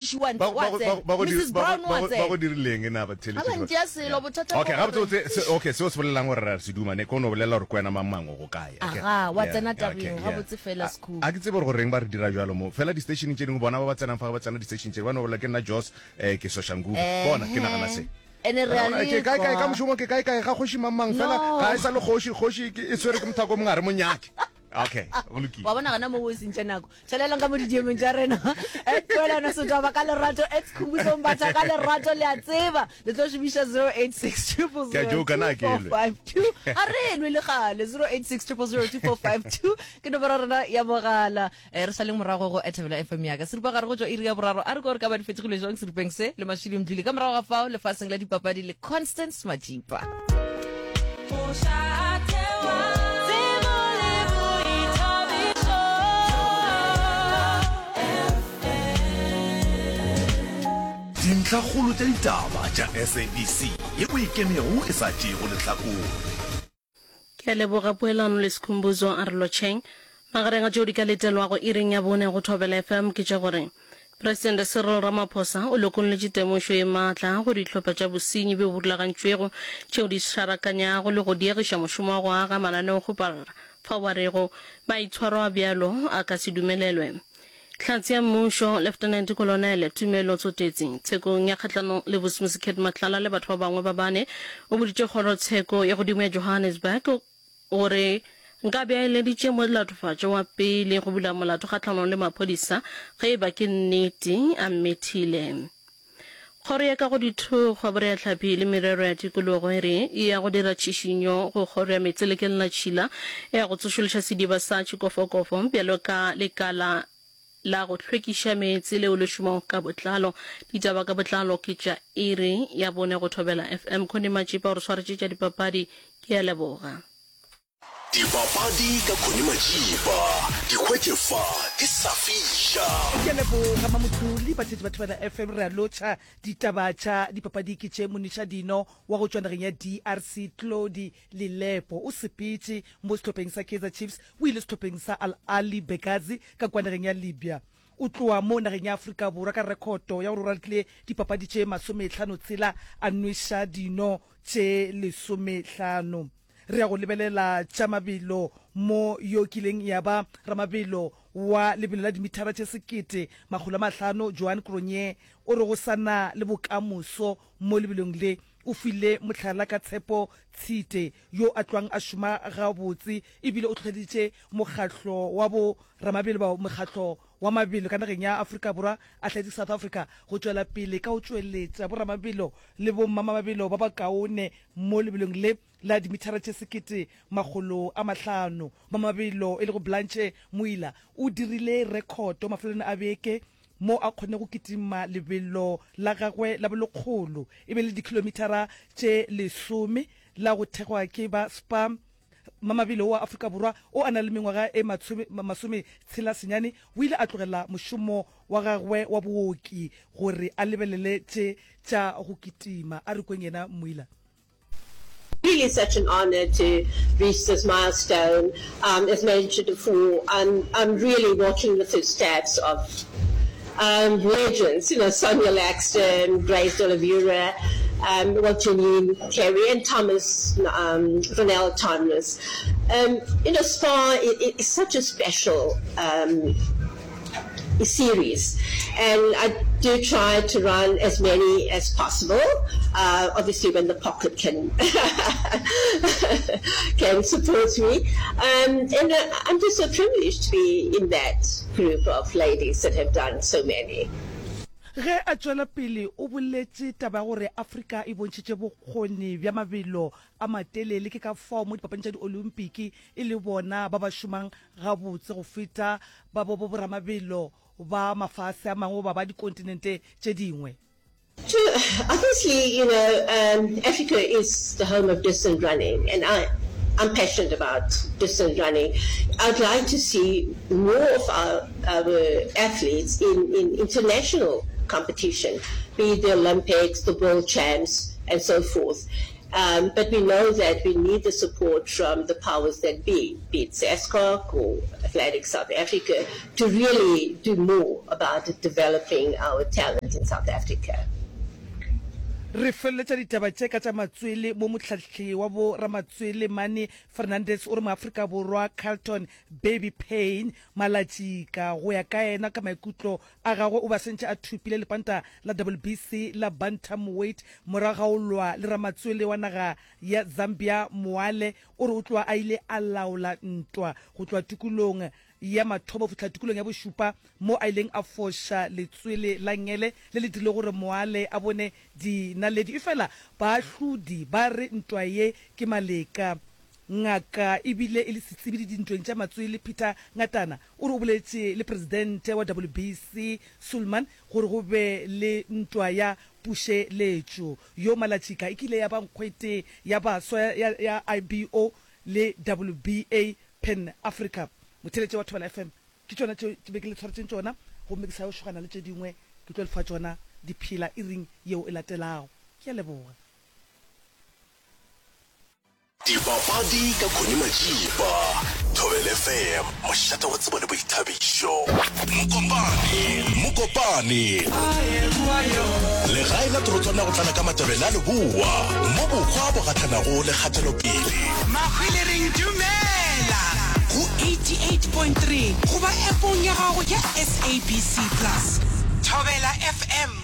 Wa Ba- ba- wa tsena. ba- ba go di- Mrs. ba go- Brown ba wa go- tsena. ba go dirileng na ba Ga ba ntšea selo, bothata okay ke gabotse gore- botse se- okay seo se bolelang gore ra se duma ne ke o no bolela gore ke wena mang mang o go kae Okay. Aga, wa Yeah, tsena yeah, tabeng, okay, yeah. gabotse fela, A- Skhoo. a ke tsebe gore goreng ba re dira jalo mo fela di-station tše dingwe bona ba ba tsenang fa ba tsena di-station tše ba no bolela ke nna jos um ke soshanguve bona ke nagana se Ene re a Ke kae kae ka lekwa. mošomo ke kae kae ga kgoši mang mang fela No. ga e sa le kgoši kgoši ke- e tshwere ke mothako o mongwe a re monyake okay go lokile wa bona gona mo o sentše nako tšhelelang ka mo didiemong tša rena at poelano setwaba ka lerato at khumbuso mbatha ka lerato le a tseba le tlo šomiša 086 Ke a joka, na ke lwe. 0002452 a re lwe le gale 086 0002452 ke nomoro ya rena ya mogala Eh, re sa leng morago go Ethebela FM ya ka seripa gare go tšwa iri ya boraro a re ko re ka ba di fetogile jwang seripeng se le Mashilo Mdluli ka morago ga fao lefaseng la dipapadi le Constance Majipa. Dintlhakgolo tša ditaba tša SABC ye o ikemego e sa tšeego lehlakore. Ke a leboga Poelano le Skhumbuzo a re lotšheng. Magareng a tšeo di ka letelwago iring ya bone go Thobela FM ke tša gore Presidente Cyril Ramaphosa o lokolletše temošo ye maatla go dihlopha tša bosenyi bjo bo rulagantšwego tšeo di šarakanyago le go diegiša mošomo wa go aga mananeokgoparara fao ba rego maitshwaro a bjalo a ka se dumelelwe. Hlatse ya mmušo, Leftenente Kolonele Tumelo Tsotetsi, tshekong ya kgahlanong le Vusimuzi Cat Matlala le batho ba bangwe ba bane, o boditše kgorotsheko ya godimo ya Johannesburg gore nkabe a eleditše molatofatšwa wa pele go bula molato kgahlanong le maphodisa ge e ba ke nnete a mmethile. Kgoro ya Kagodithokgwa, Boreahlapi le Merero ya Tikologo e re e ya go dira tšhišinyo go Kgoro ya Meetse le Kelelatšhila ya go tsošološa sediba sa Tšhikofokofo bjalo ka lekala la go hlwekiša meetse leo le šomago ka botlalo. Ditaba ka botlalo ke tša iri ya bone go Thobela FM. Connie Matšipa o re swaretše tša dipapadi. Ke a leboga. Dipapadi ka Connie Majiba, di hwetše fa di sa fiša. Ke a leboga Mamothuli, batheetši ba Thobela FM re a lotšha. Ditaba tša dipapadi ke tše, Moniša Dino wa go tšwa nageng ya DRC Claudy Lilepo o sepetše mo sehlopheng sa Kaizer Chiefs o ile sehlopheng sa Al Ahly Benghazi ka kua nageng ya Libya. O tloa mo nageng ya Afrika Borwa ka rekhoto ya gore o ralokile dipapadi tše masomehlano tshela a nweša dino tše lesomehlano. Re ya go lebelela tša mabelo mo yo kileng ya ba ramabelo wa lebelo la dimithara tše 1500 Johan Cronje o re go sa na le bokamoso mo lebelong le. O file mohlala ka Tshepo Tshite yo a tlwang a šoma gabotse ebile o hlohleleditše mokgahlo wa bo ramabelo ba mokgahlo wa mabelo ka nageng ya Afrika Borwa Athletics South Africa go tšwela pele ka go tšweletša bo ramabelo le bo mmamabelo ba bakaone Mo lebelong le la dimithara tše 1500, mamabelo e lego Blanche Moila o dirile rekhoto mafelelong a beke mo a kgonne go kitima lebelo la gagwe la bolekgolo e be le dikhilomithara tše lesome la go thekgwa ke ba Spar. Mamabelo wa Afrika Borwa o a na le mengwaga e masometshela senyane o ile a tlogela mošomo wa gagwe wa booki gore a lebelele tše tša go kitima. A re kweng yena Moila. Really such an honour to reach this milestone. Um, as mentioned before, I'm, I'm really walking the footsteps of um, legends, you know, Sonia Laxton, Grace D'Oliveira, um, well, Janine Carey and Thomas, um, Ronel Thomas. Um, you know, Spa is such a special um, series, and I do try to run as many as possible. Uh, obviously, when the pocket can can support me, um, and uh, I'm just so privileged to be in that group of ladies that have done so many. Ge a tšwela pele o boletše taba ya gore Afrika e bontšhitše bokgoni bja mabelo a matelele ke ka fao mo dipapading tša diolimpiki e le bona ba ba šomang gabotse go feta ba bo boramabelo ba mafase a mangwe goba ba dikontinente tše dingwe. To, obviously, you know, um, Africa is the home of distance running, and I, I'm passionate about distance running. I'd like to see more of our, our athletes in, in international competition, be it the Olympics, the World Champs, and so forth. Um, but we know that we need the support from the powers that be, be it SASCOC or Athletics South Africa, to really do more about developing our talent in South Africa. Re feleletša ditaba tše ka tša matswele mo mohlahli wa bo ramatswele Manny Fernandes o re Moafrika Borwa Carlton Baby Payne Malatšika go ya ka yena ka maikutlo a gagwe o be a sentše a thopile lepanta la WBC la bantamweight morago ga go lwa le ramatswele wa naga ya Zambia Mwale. O re o tloga a ile a laola ntwa go tloga tikolong ya mathomo go fihla tikolong ya bošupa mo a ileng a foša letswele la ngele le le dirilego gore Mwale a bone dinaledi. Efela baahlodi ba re ntwa ye ke maleka. Ngaka e bile e le setsebi dintweng tša matswele Peter Ngatana o re o boletše le presidente wa WBC Sulman gore go be le ntwa ya pušeletšo. Yo Malatšika e kile ya ba nkgwete ya baswa ya ya IBO le WBA Pan Africa. Motheeletši wa Thobela FM, ke tšona tše ke be ke le tshwaretšeng tšona gomme ke sa yo šogana le tše dingwe ke tlo le fa tšona di phela iring yeo e latelago. Ke a leboga. Dipapadi ka Connie Majiba, Thobela FM, mošate wa tsebo le boithabišo. Mokopane, Mokopane, legae la torotswana go tlala ka Matebele a Leboa, mo bokgwa bo gahlanago le kgatelopele. Mahwilereng dumela go 88.3 goba appong ya gago ya SABC Plus. Thobela FM.